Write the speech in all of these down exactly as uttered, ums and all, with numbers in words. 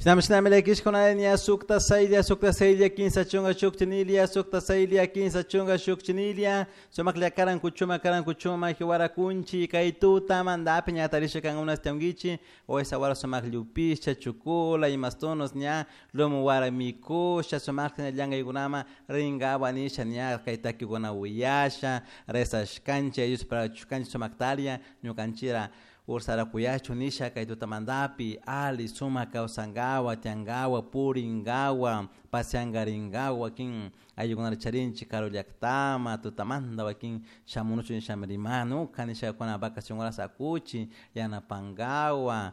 Shinami shinami llakishkuna ña sukta saylla sukta saylla kinsa chunka shuk chinilla sukta saylla kinsa chunka shuk chinilla sumaklla karan kuchuma karan kuchuma hiwara kunchi kay tutamantapi ña tarisha kankuna tiyankichik o esa wara sumak llupisha chukula imastunos ña lumu wara mikusha sumakta ña llankaykunaman rinkawa nisha ña kay takikuna uyasha rezashkanchik Dios parachushkanchik sumaktaria ñukanchira ursara kuyachun nisha kay tutamantapi ali sumak kawsankawa tiyankawa purinkawa pasiankarinkawa wakin ayllukunata charinchik karu llaktaman tutamanta wakin shamunuchun nishami rimanuka nishakuna vacacion horas akuchik yanapankawa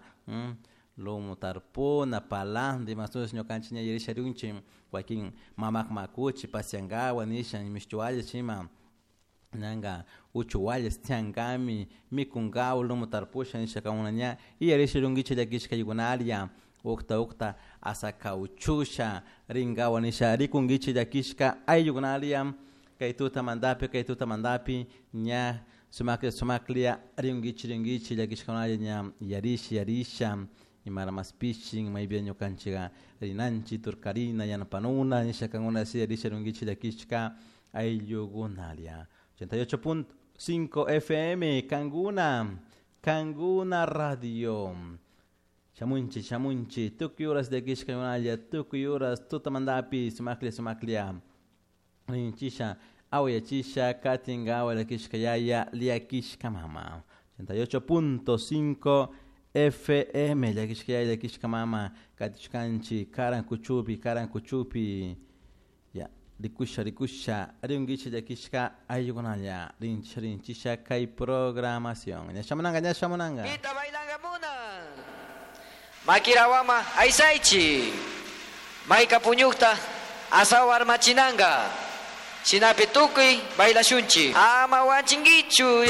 lumu tarpuna palanta imashutish ñukanchik ña yarisha rinchik wakin mamakman akuchik pasiankawa nisha mishtiwallish ima ñanka uchuwallish tiyankami mikunkawa lumu tarpusha nishakuna ña yarisha rinkichik llakishka ayllukuna ukta ukta asakawchusha rinkawa nisha rikunkichik llakishka ayllukunalla kay tutamantapi kay tutamantapi ña sumaklla sumaklla rinkichik rinkichik llakishkakunalla ña yarisha yarisha imara maspishin maypi ñukanchika rinanchik turkarina yanapanuna nisha kankuna si yarisha rinkichik llakishka ayllukunalla ochenta y ocho punto cinco F M Kanguna Kanguna Radio shamunchik shamunchik tukuy horas llakishkakunalla tukuy horas tutamantapi sumaklla sumaklla rinchisha awayachisha katinkawa llakishka yaya llakishka mama ochenta y ocho punto cinco F M llakishka yaya llakishka mama katishkanchik karan kuchupi karan kuchupi ya rikusha rikusha rinkichik llakishka ayllukunalla rinchisha rinchisha kay programación ña shamunanka ña shamunanka Pita bailangamuna Makirawama aysaychi Mayka puñukta asaw armachinanga Shinapi tukuy bailashunchi Ama wanchinkichu.